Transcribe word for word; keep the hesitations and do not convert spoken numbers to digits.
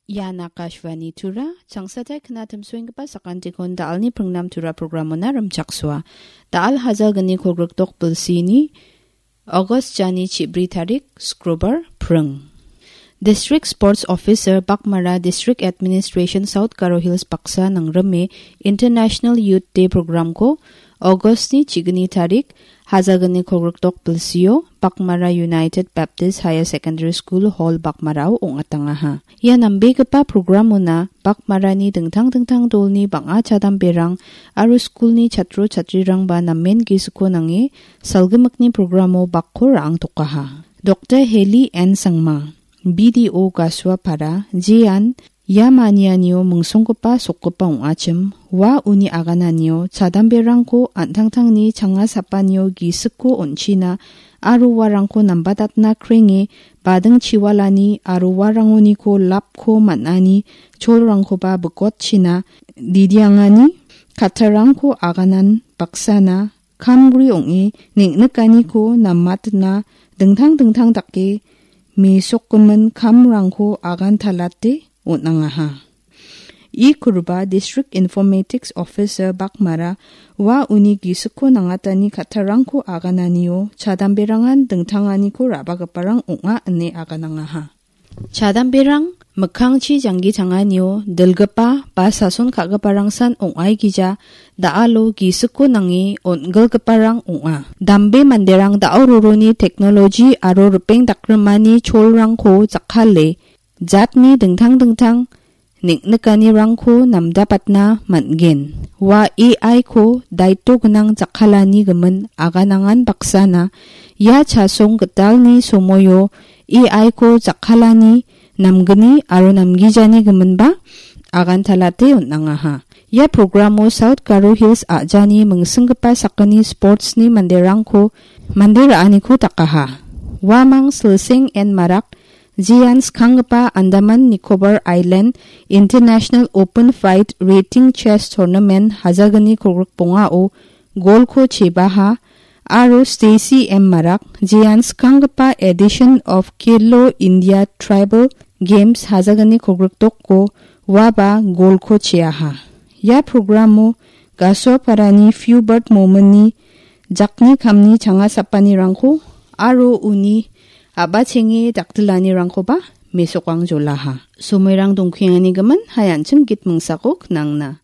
Ian Akashvani Tura, changsatai knatimsoenggipa sakantikon da·alni pringnam Tura programona rimchaksoa. Da·al hajalgni kolgrikdok bilsini August jani chibri tarik, Skrobar, pring. District Sports Officer Bakmara District Administration South Garo Hills baksa nangrime International Youth Day programko Augustni chigni tarik, hajalgni kolgrikdok bilsio, Bakmara United Baptist Higher Secondary School Hall Bakmarao ong·atangaha. Ia nambegipa programona Bakmarani dingtang dingtang dolni bang·a chadamberang aro skulni chatro chatrirangba namen gisikko nange salgimikni programo bakko ra·angtokaha. Doktor Heli N Sangma, B D O Gasuapara, jean ia manianio mingsonggipa sokgipa ong·achim, ua uni agananio chadamberangko an·tangtangni changa sapanio gisikko on·china aro uarangko nambatatna krenge bading chiwalani aro uarangoniko lapko man·ani cholrangkoba bikotchina didiangani kattarangko aganan baksana kamgri ong·e neng·nikaniko namatna dingtang dingtang dake mesokgimin kamrangko agantalate on·angaha. I Kurba District Informatics Officer Bakmara ua uni gisikko nangatani kattarangko agananio chadamberangan dingtanganiko ra·bagiparang ong·a ine aganangaha. Chadamberang mikkangchi janggi tanganio dilgipa ba sason ka·giparangsan ong·aigija da·alo gisikko nange on·gilgiparang ong·a. Dambe manderang da·o roroni teknoloji aro ripeng dakrimani cholrangko jakkale jatni dingtang dingtang neng·nikanirangko namdapatna man·gen. Ua A I ko daito gnang jakkalani gimin aganangan baksana ia chasong gitalni somoio A I ko jakkalani namgni aro namgijani giminba agantalate on·angaha. Ia programo South Garo Hills a·jani mingsinggipa sakgni sportsni manderangko mande ra·aniko dakaha. Uamang Silseng N Marak, jean skanggipa Andaman Nicobar Island International Open Fight Rating Chess Tournament hajalgni kolgrik bongao golko chebaha, aro Stacy M Marak, jean skanggipa edition of Khelo India Tribal Games hajalgni kolgrik doko uaba golko cheaha. Ia programo Gasoparani Fubert Momini jakni kamni changa sapanirangko aro uni a·bachenge daktilanirangkoba mesokang jolaha. Somoirang dongkengani gimin, hai an·ching git mingsako knangna.